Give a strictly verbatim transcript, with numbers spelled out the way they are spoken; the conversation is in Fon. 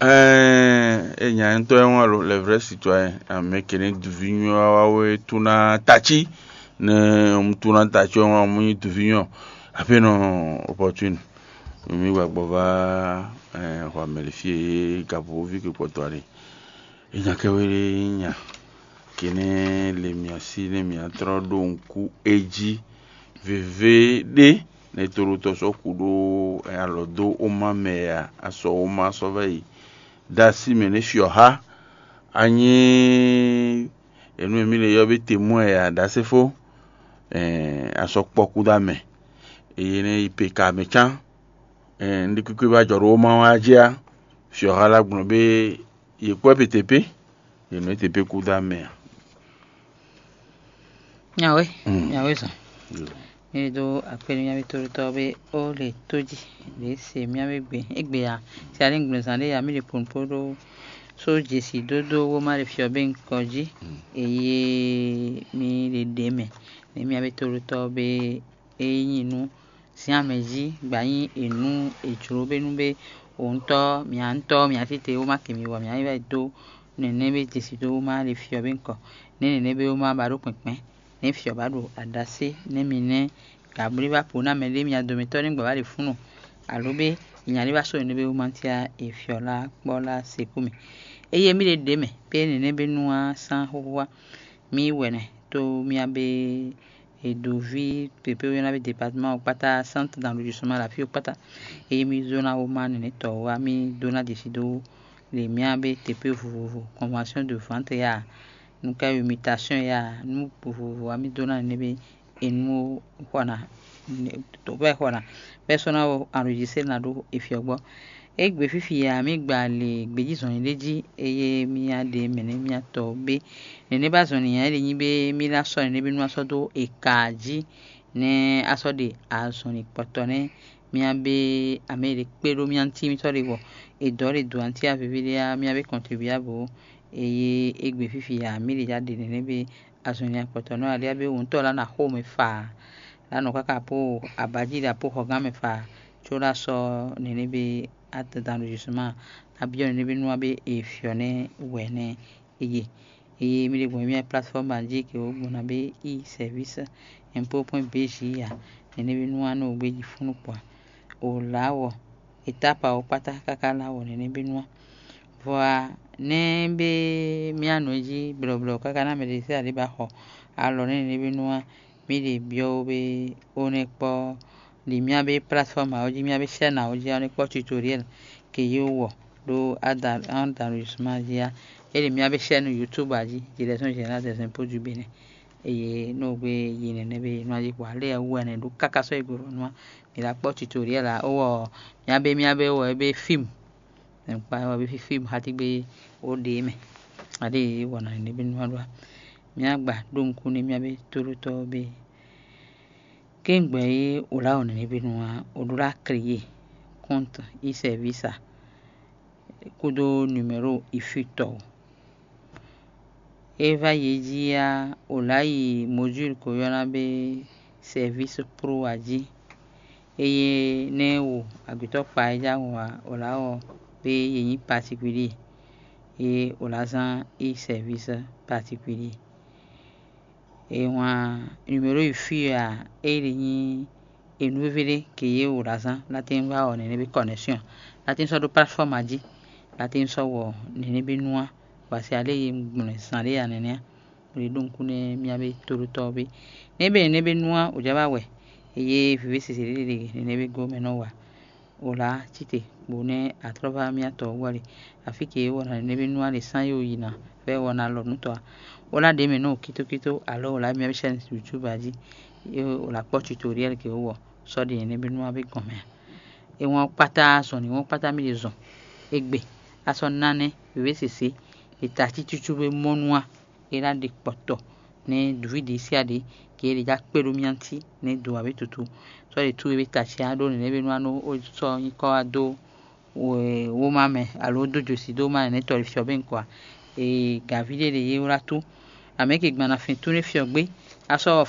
Ɛɛ, e nya ŋutɔ́ e wɔn alo le vrai citoyen, amɛ kɛnɛ duvi nyɔ wa we tuna tachi ne mu tuna tachi wɔn mu nyi duvi nyɔ. Ape nɔ opportune. Mi gba gbɔ va ɛɛ xɔ amɛlifie gabovi ke kpɔtɔ ali. E nya kɛ we nya kɛnɛ le mia si ne mia trɔ ɖo ŋku eji veve ɖe ne tolotɔ sɔ ku ɖo alɔ do oma mɛ ya asɔ oma sɔ vɛ yi. Dasi mɛ ne fiɔ ha anyi enu emi le yɔ be temɔ ya dasefo. Asɔ kpɔ ku da mɛ eye ne yi pe ka mɛ can. Ndi kúkú ba jɔ ɖo oma wa jí a fiɔ ha la gblɔ be yi kpɔ pe tepe yi nɔ tepe ku da mɛ a. Nyawe, Mm. Nyawe zɔn. Yo. Mi ɖo akpe nú mía tóɖótɔ́ be ó le tó jí ɖě se mía be gbe égbé a si alí gblɛzán ɖé ya mí ɖe ponpo ɖó só jesi dódó wó má ɖe fiɔ bé ŋkɔ jí. Mm. Eye mi ɖe ɖě mɛ nɛ mía be tóɖótɔ́ be é nyí nú zin amɛ jí gba nyí ènú è jló bé nú bé òun tɔ́ mia ŋutɔ́ mia tete wó má kɛ mi wɔ mia yi wɛ dó nɛnɛ́ bé jesi dó wó má ɖe fiɔ bé ŋkɔ nɛ́ nɛnɛ́ bé wó má ba ɖó kpɛ̌nkpɛ́n nɛ́ fiɔ ba ɖo aɖasé nɛ́ mi nɛ́ gǎblí ba po ná mɛ ɖé mia domitɔ́ ní gbɔ ba ɖe fúnnu alo bé nya ɖé ba sɔ́ nɛnɛ́ bé wó má tia è fiɔ lá kpɔ́ lá sekú mi. Eye mí ɖe ɖě mɛ pé nɛnɛ́ bé nú á sán xóxó wá mí wɛnɛ tó mía bé Edoví pěpé ɔ́ nyɔ́ná bé departement ɔ́ kpátá, centre d'enregistrement la fí ɔ́ kpátá. Eye mí zó ná wó má nɛnɛ́tɔ́ ɔ́ wá mí dó ná ɖi si dó le mía bé tepe vovovo, convention de vente ya, nukɛ́ mutation ya, nú vovovo wá mí dó ná nɛnɛ́ bé enu xɔ ná, tó bɛ́ xɔ ná, bɛ́ sɔ́ ná enregistré ná ɖó efiɔgbɔ́. Égbé fífi ya mí gba le gbějízɔn ɖé jí, eye mía ɖe mɛ̌ nɛ́ mía tɔ bé. Nɛ̌ nɛ́ ba zɔn nǐ nyanya e ɖe nyí bé mí ná sɔ́ nɛnɛ́ bí nú ná sɔ́ dó eka jí, nɛ́ á sɔ́ ɖe azɔn ɖi kpɔtɔ nɛ́ mía bé amɛ e ɖe kpé ɖó mía ŋuti mítɔ́ ɖe wɔ è dɔ̌ ɖe dǒ anti aviví ɖé á, mía bé kɔntribia bǒ. Eye égbé fífi ya mí ɖe já ɖe nɛnɛ́ bé azɔn nyanya kpɔtɔ nɔ aɖé á bé wǔntɔ́ lá ná xo mɛ faa, lá nɔ káká po abají ɖa po xɔgán mɛ faa, có lá sɔ́ nɛnɛ́ bé atɛntan ɖo justement ná byɔ́ nɛnɛ́ bé nú á bé e fyɔ̌ nɛ́ wɛ nɛ́ eye. Eye mí ɖe gbɔn mía plateforme jí ke wǒ gbɔn ná bé i service impôt point bj ya nɛnɛ́ bé nú á nɔ gbé jí fún nukpɔ́ a. O lá wɔ étape awo kpátá káká lá wɔ nɛnɛ́ bé nú á. Vɔ a nɛ́ bé mía nɔ jí blɔblɔ káká ná mɛ ɖé sɛ́ aɖé ba xɔ alɔ nɛ́ nɛnɛ́ bé nú á. Mí ɖe byɔ́ wó bé ó nɛ́ kpɔ́ ɖi mía bé plateforme awo jí mía bé chaîne awo jí á nɛ́ kpɔ́ tutoriel ke yí wɔ ɖó adan adan justement jí á. É ɖi mía bé chaîne YouTube a jí, Direction Générale des Impôts du Bénin. Eye nú gbé yi nɛnɛ́ bé nú ají kpɔ́ alé wú ɛnɛ ɖó káká sɔ́ yi gbe vɔ nú á. Mǐ la kpɔ́ tutoriel a ó wɔ mía bé mía bé wɔ é bé film. Kpa wɔ bé fí film xá tí gbé ó ɖe mɛ. Aɖé wɔ nǎ nɛnɛ́ bé nú á ɖó a. Mía gba ɖó nukún nú mía bé tóɖótɔ́ bé. Kéŋgbɛ e wǒ lá wɔ nɛnɛ́ bé nú á, wǒ ɖó lá créé compte e service a kúdó numéro ifutɔ́ o. É vá yi jí á, wǒ lá yi module ko ylɔ́ ná bé service pro a jí. Eye nɛ́ wo agbětɔ́ kpa é já wɔn ǎ, wǒ lá wɔ bé yě nyí particulier, é wǒ lá zán i service particulier. E wǎn numéro yi fí a é ɖi nyí enu víví ɖé ke yě wǒ ɖo azán látín wá ɔ nɛnɛ bí connexion látín sɔ́ ɖó plateforme jí látín sɔ́ wɔ nɛnɛ bí nú á wǎ se alé yi gblɔn zán ɖé ya nɛnɛ á. Ɖe ɖó nukún nɛ mía bé tóɖótɔ́ ɔ́ bé nɛ́ bɛ nɛnɛ bí nú á wǒ já wá wɛ eye vǐví sese ɖé ɖe nɛnɛ bí gó mɛ nɔ wa. Wǒ lá cíte bó nɛ́ atlɔ́vá mía tɔ ɔ́ wú ali. Afí ke wɔ ná nɛ́ bí nú ali sán yó yi ná vɛ́ wɔ ná lɔ nǔ tɔ́ ǎ. Wǒ lá ɖě mɛ nú wǒ kítókító alɔ wǒ lá mía bí sɛ́n YouTube a jí. É wǒ lá kpɔ́ tutoriel ke wó wɔ sɔ́ ɖi nɛ́ bí nú a bí gɔn mɛ ǎ. É wɔn kpátá zɔn ní wɔn kpátá mí ɖe zɔn. Égbé a sɔ́ ná nɛ́ wěwé sésé. È ta cícúcú wé mɔ́ nú a. É ná ɖe kpɔtɔ nɛ́ dǔví ɖě síá ɖě ke é ɖě já kpé ɖó mía ŋuti nɛ́ do ǎ bé tutu. Sɔ́ ɖě tú é bé ta acya ɖó nɛnɛ́ bé nú á nú ó sɔ́ nyí kɔ́ wá dó wóma mɛ alo dó josi dó má nɛnɛ́ tɔ́ ɖé fyɔ́ bé ŋkɔ ǎ. Ee, gǎví ɖé ɖě yé wlá tú. Amɛ̌ ke gban ná fin tú nɛ́ fyɔ́ gbé. Á sɔ́